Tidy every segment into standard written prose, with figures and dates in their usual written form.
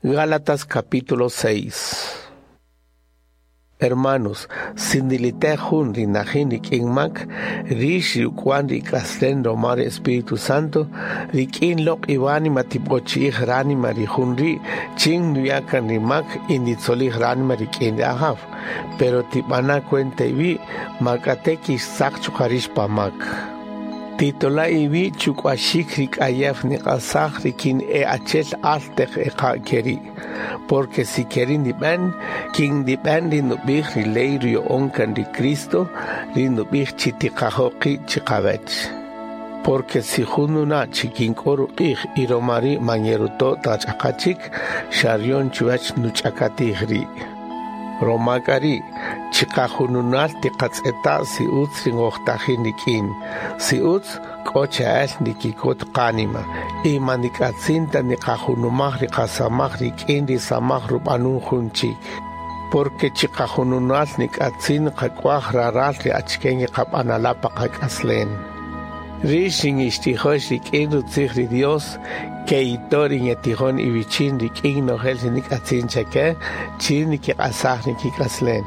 Gálatas capítulo 6. Hermanos, sindilite jun ri najin rik'in mak, rix ri uk'wan ri ik'aslen roma ri Espíritu Santo, rik'in loq' iwánima tib'ochi'ij ránima ri jun ri' chin nuya' kan ri mak y nditzolij ránima rik'in ri Ajaw. Pero tib'ana' cuenta iwi', ma k'ate' kixtzaq chuqa' rix pa mak. Titola' iwi' chuk'uaxik ri k'ayew niq'asaj rikin e achel al teq eqa' keri'. Porque si keri' ndib'en, kin ndib'en ri nub'ij ri ley ruya'on kan ri Cristo, ri nub'ij chi tiqajo' qi' chiqawech. Porque si jun nuna' chi kin k'o ruq'ij y roma ri' man yeruto' ta ch'aqa chik, xa ryon chuwech nuch'akatij ri'. Roma k'a ri', chiqajununal tiqatz'eta' si utz ri ngojtajin rik'in. Si utz, k'o che'el ndikikot qánima y man ndik'atzin ta niqajunumaj ri qasamaj rik'in ri samaj rub'anun jun chik. Porque chiqajununal nik'atzin qak'uaj raral ri achike ngeqab'anala' pa qak'aslen. Rix ri ngixtijox rik'in rutzij ri Dios, ke'ito' ri ngetijon iwichin rik'in nojel ri nik'atzin chake, chin nikiq'asaj nikik'aslen.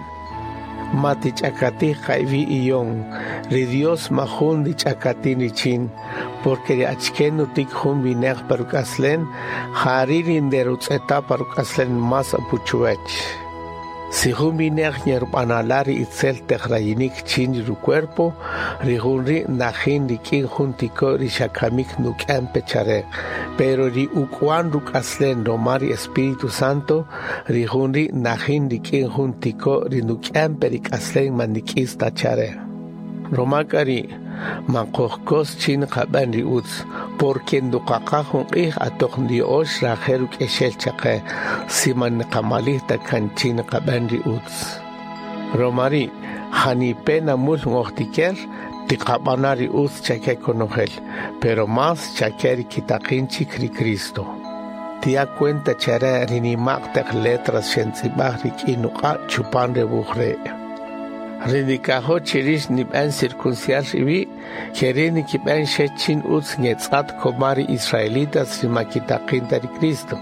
Ma tich'akatij qa iwi' iyon, ri Dios ma jun ndich'akatin richin, porque ri achike nutik jun wineq pa ruk'aslen, jari' ri nderutz'eta' pa ruk'aslen más apu chuwech. Si jun wineq ngerub'anala' ri itzel teq rayinik chin ri rucuerpo, ri jun ri' najin rik'in jun tiko' ri xa kamik nuk'en pe chare. Pero ri uk'wan ruk'aslen roma ri Espíritu Santo, ri jun ri' najin rik'in jun tiko' ri nuk'en pe ri k'aslen man ndik'is ta chare. Roma k'a ri', man qojkos chin qab'en ri utz, porque nduqaqa jun q'ij atoq ndiyo'ox rajel ruk'exel chaqe, si man niqamalij ta kan chin qab'en ri utz. Roma ri', janipe' namul ngojtiker, tiqab'ana' ri utz chake konojel, pero más chake ri kitaqin chik ri Cristo. Tiya' cuenta chare ri nima'q taq letras xentz'ib'aj rik'in nuq'a' chupan re wuj re'. Ri ndikajo' chi rix ndib'en circuncidar iwi', keri' ndikib'en xe chin utz ngetz'at koma ri israelitas ri ma kitaqin ta ri Cristo,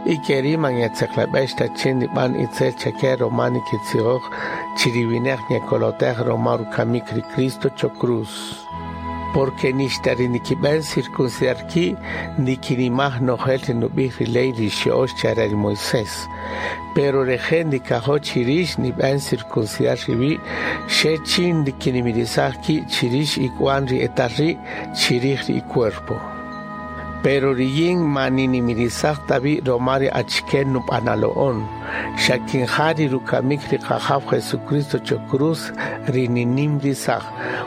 y keri' man ngetzeqleb'ex ta chin ndib'an itzel chake roma nikitzijoj chi ri wineq ngekolotej roma rukamik ri Cristo cho cruz. Porque nixta ri ndikib'en circuncidar ki' ndikinimaj nojel ri nub'ij ri ley ri xyo'ox chare ri Moisés. Pero reje' ndikajo' chi rix ndib'en circuncidar iwi' xe chin ndikinimirisaj ki' chi rix ik'uan ri etal ri' chirij ri icuerpo. Pero riyin ma ninimirisaj ta wi' roma ri achike nub'analo'on, xa kin ja ri rukamik ri Qajaw Jesucristo cho cruz ri ninimrisaj,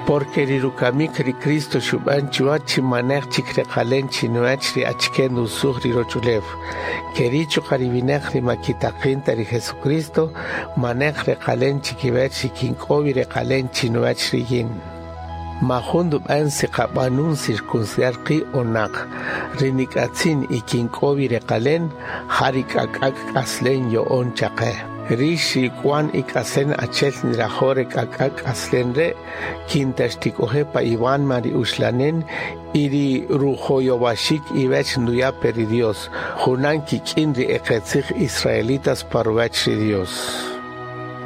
porque ri rukamik ri Cristo xub'an chuwa chi maneq chik reqalen chinuwech ri achike nusuj ri rochulew. Keri' chuqa' ri wineq ri ma kitaqin ta ri Jesucristo, maneq reqalen chikiwech ri kin k'o wi reqalen chinuwech riyin. Ma jun ndub'en si qab'anun circuncidar qi' o naq, ri nik'atzin y kin k'o wi reqalen, ja ri k'ak'ak' k'aslen yo'on chaqe. Rix ri ik'uan ik'aslen achel nirajo' re k'ak'ak' k'aslen re', kin ta xtik'oje' pa iwánima ri uxlanen y ri rujoyowaxik iwech nduya' pe ri Dios, junan kik'in ri eqetzij israelitas pa ruwech ri Dios.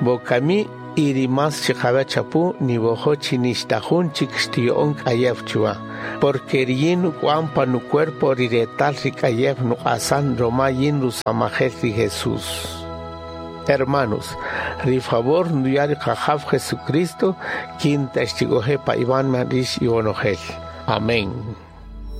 Wokami y ri más chiqawech apu niwojo' chi nixta jun chik xtiyo'on k'ayew chuwa, porque riyin nuk'uan pa nucuerpo ri retal ri k'ayew nuq'asan roma yin rusamajel ri Jesús. Hermanos, ri favor nduya' ri Qajaw Jesucristo kin ta xtik'oje' pa iwánima rix iwonojel. Amén.